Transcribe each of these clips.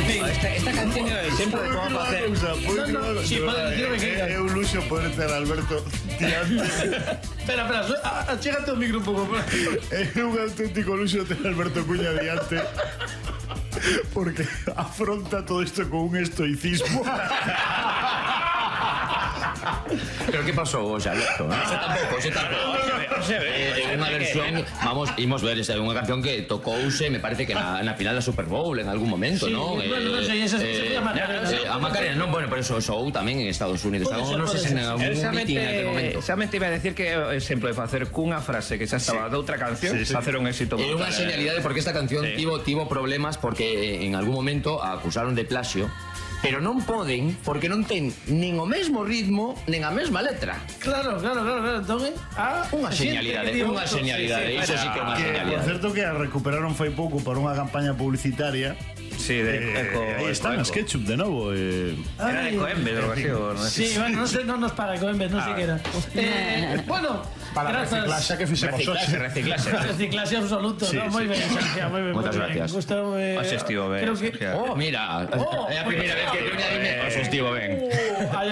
Esta canción sempre de como facer. Si, pode dicirme que é un luxo poder ter a Alberto diante. Espera, achégate o micro un pouco. É un auténtico luxo ter a Alberto Cuña diante, porque afronta todo isto con un estoicismo. Pero que pasou hoxe, Alberto? Ese tampouco. Unha versión, vamos, imos ver, é unha canción que tocouse, me parece que na final da Super Bowl en algún momento, non? Non sei, esa sería Macarena. A Macarena, non, bueno, pero eso ou tamén en Estados Unidos. Non sei se en algún meeting en aquel momento. Xamente iba a decir que o exemplo de facer cunha frase que xa estaba de outra canción, facer un éxito. É unha señalidade porque esta canción tivo problemas porque en algún momento a acusaron de plagio. Pero non poden porque non ten nin o mesmo ritmo nin a mesma letra. Claro. Entón, unha señalidade, iso sí que é unha señalidade. Por certo que a recuperaron fai pouco para unha campaña publicitaria. Sí, aí están as ketchup de novo. Era de Coembes, algo así. Sí, bueno, non nos para Coembes, non sei que era. Bueno, para reciclaxe que fixemos hoxe. Reciclaxe absoluto, moi ben, Sergio, moi ben. Moitas gracias. Gustoume. Oxe, estivo ben. Mira, é a primeira vez que Coña dime, oxe, estivo ben.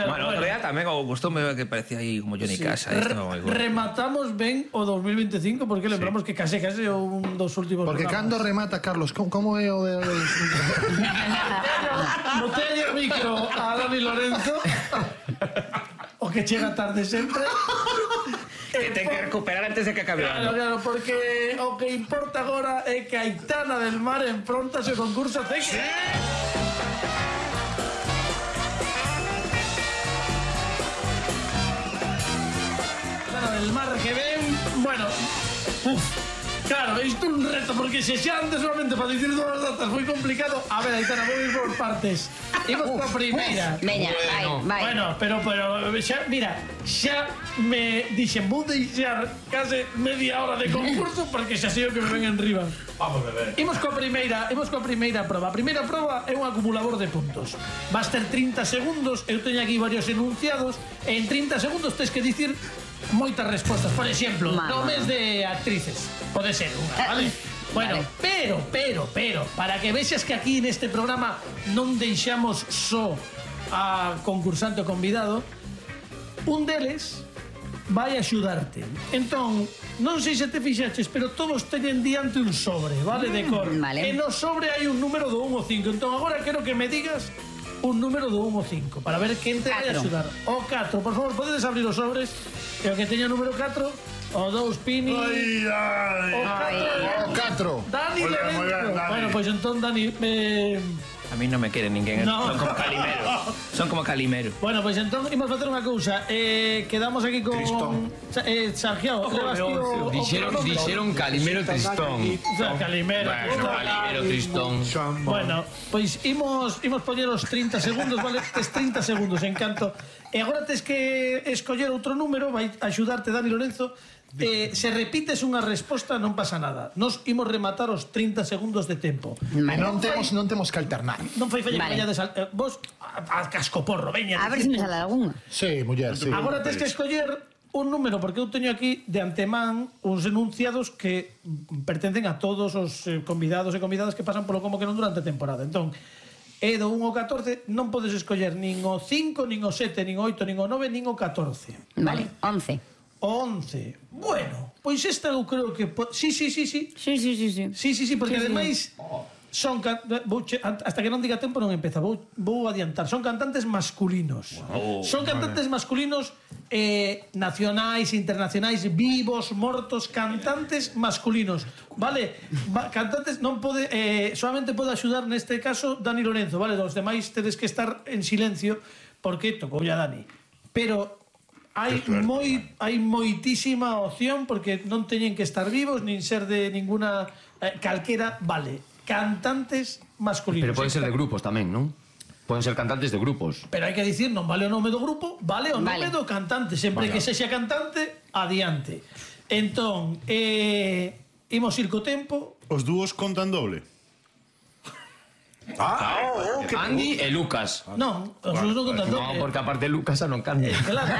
Bueno, en realidad tamén gustoume que parecía aí como Johnny Casa. Rematamos ben o 2025 porque lembramos que case un dos últimos. Porque cando remata, Carlos, como é o de... Botella micro a Dani Lorenzo. O que chega tarde sempre. Que ten que recuperar antes de que acabe o ano. Claro, porque o que importa agora é que Aitana del Mar enfrontase ao concurso CEC. Sí. Aitana del Mar que ven, bueno, claro, isto é un reto, porque se xa antes solamente para dicir todas as datas foi complicado. A ver, Aitana, vou ir por partes. Imos coa primeira. Veña, vai. Bueno, pero xa, mira, xa me dixen, vou deixar case media hora de concurso porque xa sei o que me ven en riba. Vamos a ver. Imos coa primeira proba. A primeira proba é un acumulador de puntos. Vas ter 30 segundos, eu teño aquí varios enunciados, e en 30 segundos tens que dicir moitas respostas. Por exemplo, nomes de actrices. Pode ser unha, vale? Bueno, pero, para que vexas que aquí neste programa non deixamos só a concursante o convidado, un deles vai axudarte. Entón, non sei se te fixaches, pero todos teñen diante un sobre, vale, de cor. Vale. E no sobre hai un número do 1 ao 5. Entón, agora quero que me digas un número do 1 ao 5 para ver quen te vai axudar. O 4, por favor, podedes abrir os sobres. E o que teña número 4... O 2, Pini. O 4. Dani Lorenzo. Bueno, pois entón, Dani, A mí non me quere ninguén. Son como Calimero. Son como Calimero. Bueno, pois entón imos facer unha cousa. Quedamos aquí con Santiago. Dixeron Calimero Tristón. Calimero. Bueno, Calimero Tristón. Bueno, pois imos poñer os 30 segundos, vale? Tes 30 segundos en canto. E agora tes que escoller outro número, vai axudarte Dani Lorenzo. Se repites unha resposta non pasa nada. Nos imos rematar os 30 segundos de tempo. Non temos que alternar. Non fai falla que vallades vos a cascoporro, veña. A ver se me sale algunha. Sí, muller, sí. Agora tens que escoller un número, porque eu teño aquí de antemán uns enunciados que pertencen a todos os convidados e convidadas que pasan polo Como que non durante a temporada. Entón, é do 1 ao 14, non podes escoller nin o 5, nin o 7, nin o 8, nin o 9, nin o 14. Vale, 11. 11. Bueno, pois esta eu creo que... Sí, porque ademais son hasta que non diga tempo non empeza, vou adiantar. Son cantantes masculinos. Son cantantes masculinos nacionais, internacionais, vivos, mortos, cantantes masculinos. Vale? Cantantes non pode solamente pode axudar neste caso Dani Lorenzo, vale? Os demais tedes que estar en silencio porque tocou ya Dani. Pero hai moitísima opción porque non teñen que estar vivos nin ser de ninguna calquera, vale. Cantantes masculinos. Pero poden ser de grupos tamén, non? Poden ser cantantes de grupos. Pero hai que dicir, non vale o nome do grupo, vale o nome do cantante. Sempre que sexa cantante, adiante. Entón, imos ir co tempo. Os dúos contan doble. Andy e Lucas. Non, os dúos non contan doble. Non, porque aparte Lucas xa non canta. Claro.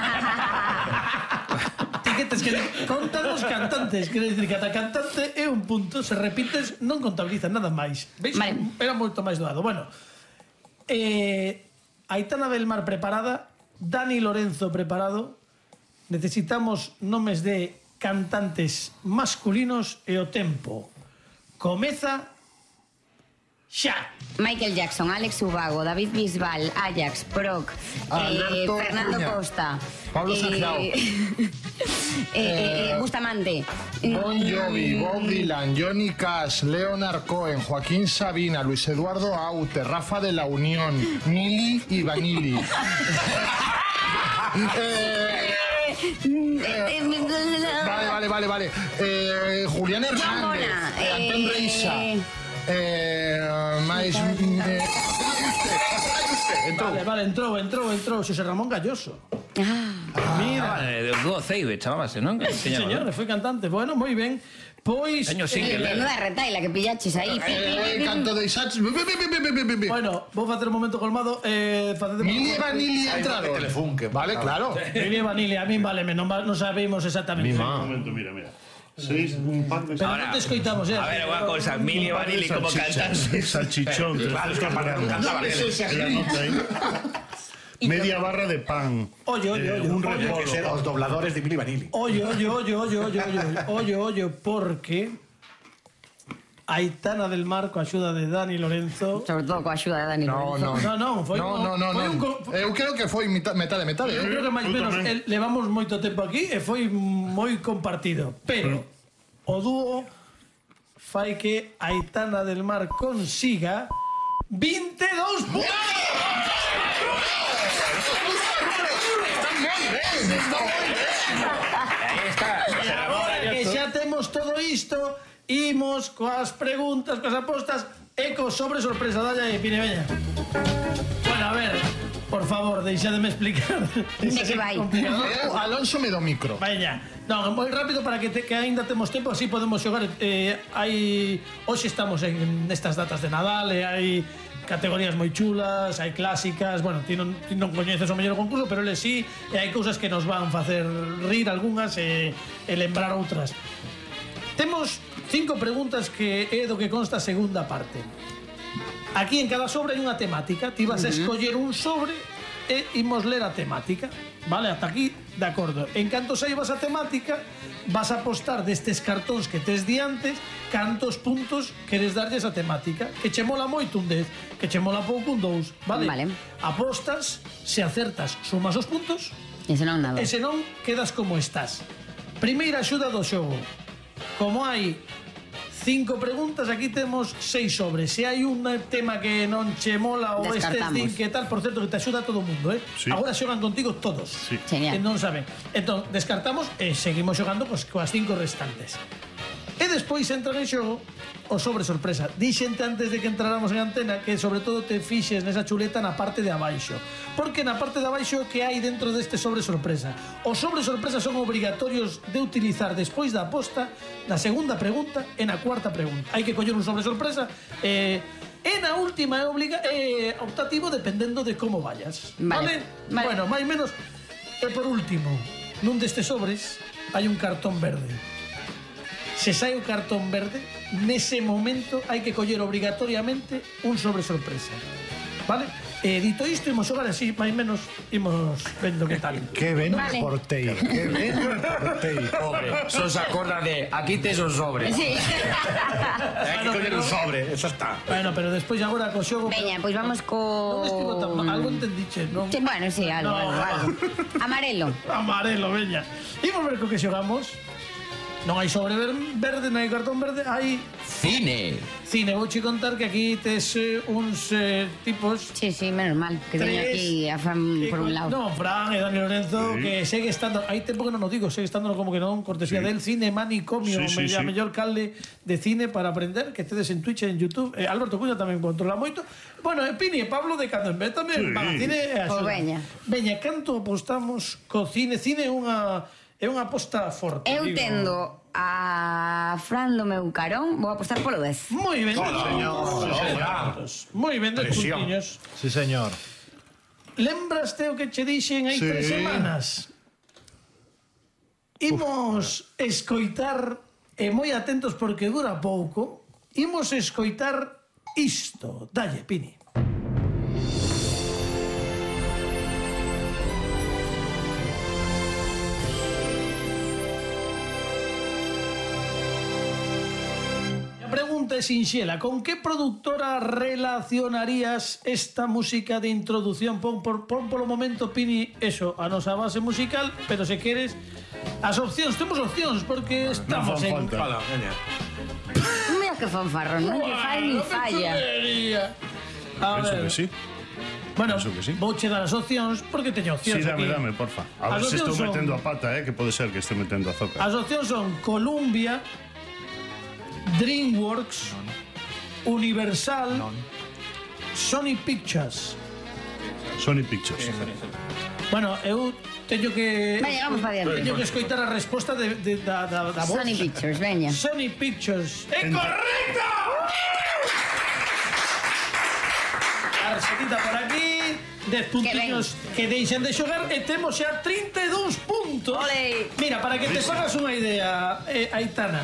Que contan os cantantes, quere dicir que cada cantante é un punto, se repites non contabiliza nada máis. Veis? Vale. Era moito máis doado. Bueno, Aitana del Mar preparada, Dani Lorenzo preparado. Necesitamos nomes de cantantes masculinos e o tempo comeza xa. Michael Jackson, Alex Ubago, David Bisbal, Ajax, Proc, Alberto Fernando Cuña, Costa, Pablo Sangiao, Bustamante, Bon Jovi, Bob Dylan, Johnny Cash, Leonard Cohen, Joaquín Sabina, Luis Eduardo Aute, Rafa de la Unión, Mili y Vanilli. Vale. Julián Hernández, Antón Reisa. Entrou Xosé Ramón Galloso. Mira, O dúo Ceibe, chamábase, non? sí, señor, foi cantante. Bueno, moi ben. Pois Teño single, menuda retaila que pillaches aí. Canto de Isaac. bueno, vou facer un momento colmado. Mili e Vanilli entraron. Vale, claro. Mili e Vanilli, a min váleme, non sabemos exactamente. Un momento, mira. Seis, un pan de... Pero non te escoitamos, A ver, unha cousa, Mili e Vanilli como cantan. Salchichón. Claro, es que para non cantaba Media barra de pan. Oye, Un repolo. Os dobladores de Mili Vanilli. Oye, porque Aitana del Mar coa axuda de Dani Lorenzo. Sobre todo coa axuda de Dani Lorenzo. Foi Eu creo que foi metade. Eu creo que máis menos levamos moito tempo aquí e foi moi compartido. Pero o dúo fai que Aitana del Mar consiga 22 puntos. E agora que xa temos todo isto, imos coas preguntas, coas apostas e co sobre sorpresa. Dalle aí, Pine, veña. Bueno, a ver, por favor, deixademe explicar. De que vai? Alonso me do micro. Veña. Non, moi rápido para que aínda temos tempo, así podemos xogar. Hoxe estamos en estas datas de Nadal e hai categorías moi chulas, hai clásicas. Bueno, ti non coñeces o mellor concurso, pero eles sí, e hai cousas que nos van facer rir algunhas e lembrar outras. Temos 5 preguntas que é do que consta a segunda parte. Aquí en cada sobre hai unha temática. Ti vas a escoller un sobre e imos ler a temática. Vale, ata aquí, de acordo. En canto saibas a temática, vas a apostar destes cartóns que tes diantes cantos puntos queres darlle esa temática. Que che mola moito un 10, que che mola pouco un 2, vale? Vale. Apostas, se acertas, sumas os puntos, E senón nada. e senón quedas como estás. Primeira axuda do xogo. Como hai 5 preguntas, aquí temos 6 sobres. Se hai un tema que non che mola ou estes din que tal, por certo que te axuda a todo o mundo, Sí. Agora xogan contigo todos. Sí. Genial. Que non saben. Entón, descartamos e seguimos xogando coas 5 restantes. E despois entran en xogo o sobre sorpresa. Dixente antes de que entráramos en antena que sobre todo te fixes nesa chuleta na parte de abaixo. Porque na parte de abaixo que hai dentro deste sobre sorpresa. Os sobre sorpresa son obrigatorios de utilizar despois da aposta, na segunda pregunta e na cuarta pregunta. Hai que coller un sobre sorpresa e na última é optativo dependendo de como vayas. Vale. Bueno, máis menos. E por último, nun destes sobres hai un cartón verde. Se sai o cartón verde, nese momento hai que coller obrigatoriamente un sobre sorpresa. Vale? Dito isto, imos xogar así, máis menos, imos vendo que tal. Que ben Vale. portei. Que ben portei. Pobre, só se acorda de aquí tes o sobre. Sí. Hai que coller un sobre, eso está. Bueno, pero despois agora co xogo... Veña, pois vamos Non estivo tan mal, algo entendiche, non? Sí, bueno, sí, algo. Amarelo. Amarelo, veña. Imos ver co que xogamos. Non hai sobre verde, non hai cartón verde, hai Cine. cine. Vouche contar que aquí tes uns tipos... Sí, menos mal, que teño aquí a Fran por un lado. No, Fran e Dani Lorenzo, que segue estando... Hai tempo que non o digo, segue estando como que non, cortesía del cine, manicomio, a mellor calde de cine para aprender, que tedes en Twitch e en YouTube. Alberto Cuña tamén controla moito. Bueno, Pini e Pablo de cando en vez tamén van a cine e a Pois xogar. veña. Veña, canto apostamos co cine? Cine é unha aposta forte. Eu digo. tendo a Fran do meu carón, vou apostar polo 10. Moi ben. Moi ben, 10 Presión. puntiños. Sí, señor. Lembraste o que che dixen hai 3 semanas? Imos escoitar, e moi atentos porque dura pouco, imos escoitar isto. Dalle, Pini. pregunta é sinxela. Con que productora relacionarías esta música de introducción? Pon polo momento, Pini, eso, a nosa base musical, pero se queres... As opcións, temos opcións, porque estamos en... Fala, veña. Mira que fanfarrón, non lle fai ni falla. A Penso ver... que sí. Bueno, penso que sí. vouche dar as opcións, porque teño opcións Sí, aquí. dame, porfa. A ver As se estou opcións son- metendo a pata, que pode ser que estou metendo a zoca. As opcións son Columbia, DreamWorks, Universal, Sony Pictures. Sony Pictures. Bueno, eu teño que... Veña, vamos pa diante. Teño que escoitar a resposta da voz. Sony Pictures, veña. Sony Pictures. ¡É correcto! A resetita por aquí. 10 puntiños que deixan de xogar e temos xa 32 puntos. Ole. Mira, para que te fagas unha idea, Aitana,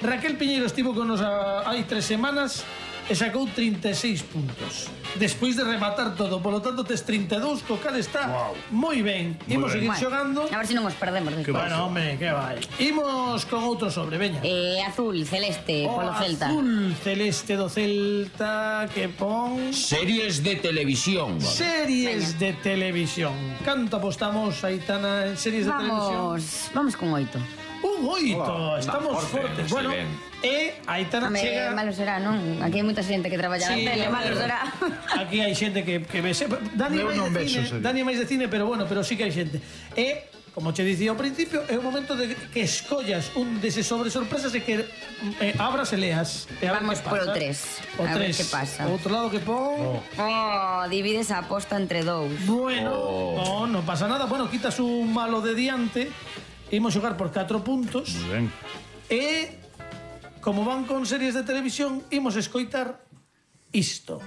Raquel Piñeiro estivo con nos hai 3 semanas e sacou 36 puntos. Despois de rematar todo, polo tanto tes 32, co cal está moi ben. Imos seguir Bueno, xogando. a ver se non os perdemos despois. Bueno, hombre, que vai. Imos con outro sobre, veña. Azul, celeste, polo Celta. Azul celeste do Celta que pon Series de televisión. series de televisión. Canto apostamos, Aitana, en series de televisión? Vamos con 8. Un 8, estamos fortes. Bueno, Aitana chega... Malo será, non? Aquí hai moita xente que traballa na tele, malo será. Aquí hai xente que ve. Dani Eu non máis de vexo cine, serie. Dani máis de cine, pero bueno, pero sí que hai xente. Como che dicía ao principio, é o momento de que escollas un deses sobre sorpresas e que abras e leas. E a ver Vamos que pasa. polo 3. O A ver 3. que pasa. O outro lado que pon... Divides a aposta entre 2. Bueno, non pasa nada. Bueno, quitas un malo de diante. Imos xogar por 4 puntos. Moi ben. E como van con series de televisión, imos escoitar isto.